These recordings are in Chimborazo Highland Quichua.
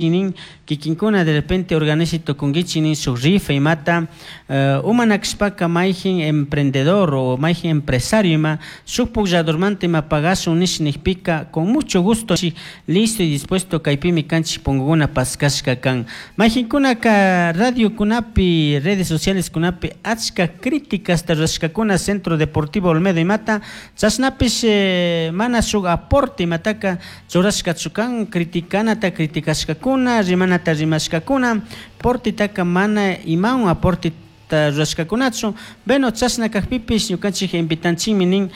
Nin kikinkuna de repente organizi tukunkichik nin shuk rifa imata umanakashpaka mayjin emprendedor o mayjin empresario ima shuk puklladormanta ima pagashun nish nijpika con mucho gusto listo y dispuesto kaypimi kanchik punkukuna paskashka kan. Mayjinkunaka radiokunapi redes socialeskunapi achka críticasta rurashkakuna Centro Deportivo Olmedo imata chashnapish mana shuk aporte imataka churashkachu kan criticanata criticashkakuna rimanata rimashkakuna aportetaka mana imawan aporteta rurashkakunachu. Bueno, chashna kakpipish ñukanchik invitanchikmi nin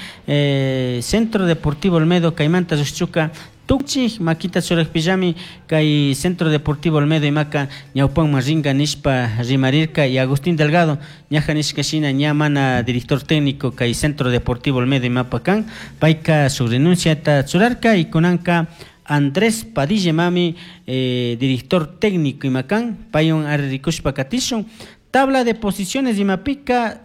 Centro Deportivo Olmedo kaymanta llukshuka tukchik makita churakpillami kay Centro Deportivo Olmedo imaka ñawpanman rinka nishpa rimarirka. Y Agustín Delgado ñaja nishka shina ña mana director técnico kay Centro Deportivo Olmedo imapa kan payka shuk renunciata churarka y kunanka Andrés Padilla mami director técnico imakan paywan ari rikushpa katishun. Tabla de posiciones imapika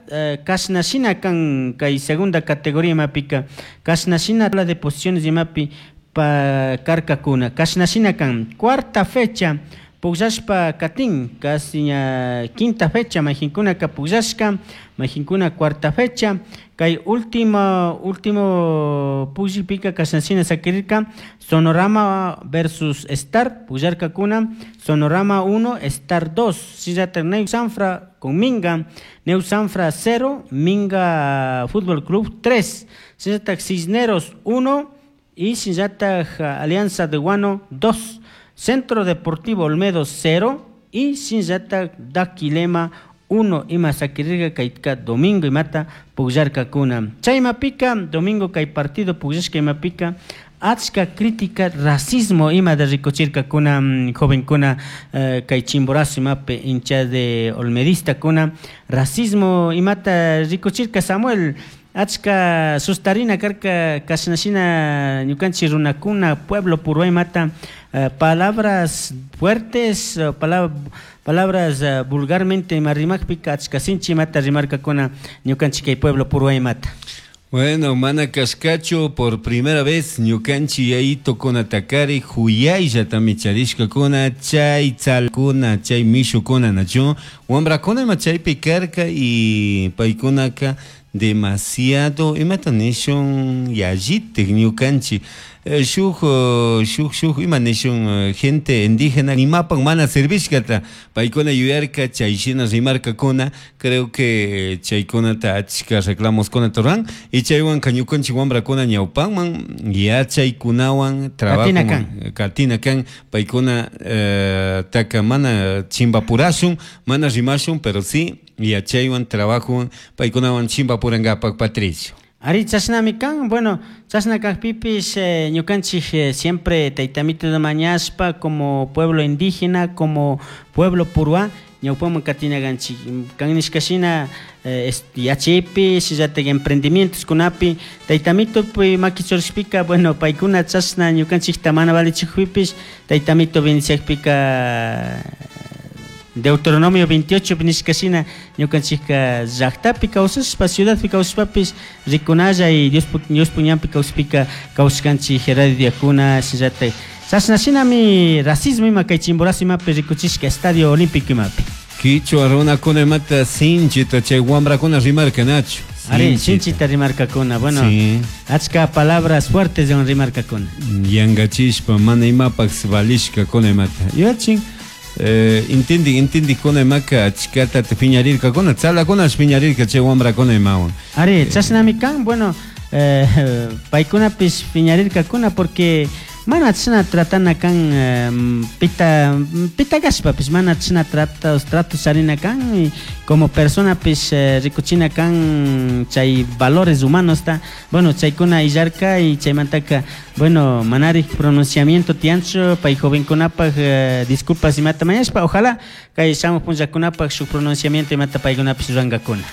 kashna shina kan kay segunda categoría imapika kashna shina tabla de posiciones imapi pa karkakuna kashna shina kan cuarta fecha pukllashpa katin casi ña quinta fecha mayjinkunaka pukllashka mayjinkuna cuarta fecha kay último último pukllipika kashna shina sakirirka Sonorama versus Star pukllarkakuna Sonorama 1 Star 2 shinallatak Neu Sanfra con Minga Neu Sanfra 0 Minga Fútbol Club 3 shinallatak Cisneros 1 y shinallatak Alianza de Guano 2 Centro Deportivo Olmedo 0 y shinallatak Daquilema 1 ima sakirirka kayka domingo imata pukllarkakuna. Chay imapika domingo kay partido pukllashka imapika achka crítica racismo ima de rikuchirkakuna jovenkuna kay Chimborazo imapi hincha de olmedistakuna racismo imata rikuchirka Samuel achka sustarina karka kashna shina ñukanchik runakuna pueblo purwa imata palabras fuertes palabras vulgarmente ima rimakpika achka sinchi imata rimarkakuna ñukanchik kay pueblo purwa imata. Bueno, mana kashkachu por primera vez ñukanchik yayitokunatakari huyayllata charishkakuna chay tzalkuna chay mishukuna nachu wambrakuna ima chaypi karka y paykunaka demasiado imata nishun yallitik ñukanchik shuk shuk shuk ima nishun gente indígena imapak mana servishkata paykuna yuyarka chay shina rimarkakuna creo que chaykunata achka reclamoskunata ruran y chaywanka ñukanchik wambrakuna ñawpanman yachaykunawan trabajoman katina kan paykuna taka mana chimpapurashun mana rimashun pero sí yachaywan trabajowan paykunawan chimpapurankapak Patricio. Ari chashnami kan, bueno, chashna kakpipish ñukanchik siempre taytamito mañashpa como pueblo indígena, como pueblo purwa, ñawpaman katina kanchik kan nishka shina yachaypi shinallatak emprendimientos kunapi taytamitopi maki churashpika bueno paykuna chashna ñukanchikta mana valichikpipish taytamito bendiciakpika Deuteronomio 28 nishka shina ñukanchikka llaktapi kawsashpa ciudadpi kawsashpapish rikunalla y Diospuk ñanpi kawsashpika kawsashkanchik radiokuna shinallatak chashna shinami racismo ima kay Chimborazo imapi rikuchishka Estadio Olímpico imapi. Kichwa runakuna imata sinchita chay wambrakuna rimarka nachu. Ari, sinchita rimarkakuna, bueno, sí. Achka palabras fuertes rimarkakuna. Yankachishpa mana imapak valishkakuna imata. Yachin intindi kuna imaka achkata piñarirkakuna tzalakunash piñarirka chay wambrakuna imawan. Ari, chashnami kan, bueno, paykunapish piñarirkakuna porque mana chashna tratana kan pita pita kashpapish mana chashna tratos charina kan y como personapish rikuchina kan chay valores humanos ta bueno chaykuna illarka y chaymantaka bueno manarik pronunciamiento tiyanchu pay jovenkunapak disculpas imata mañashpa ojalá kay shamuq punllakunapak shuk pronunciamiento imata paykunapish rurankakuna.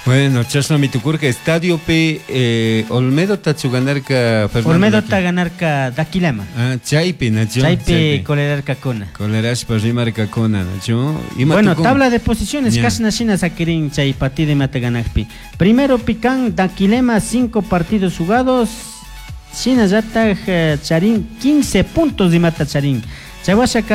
Bueno, chashnami tukurka estadiopi Olmedo tachu ganarka Fernando Olmedo ta ganarka Daquilema. Ah, chaypi nachu. Chaypi kolerarkakuna. Kolerashpa rimarkakuna nachu. Bueno, tabla de posiciones kashna shina sakirin chay partido imata ganakpi. Primero pican Daquilema 5 partidos jugados. Shinallatak charin 15 puntos imata charin. Chay washaka.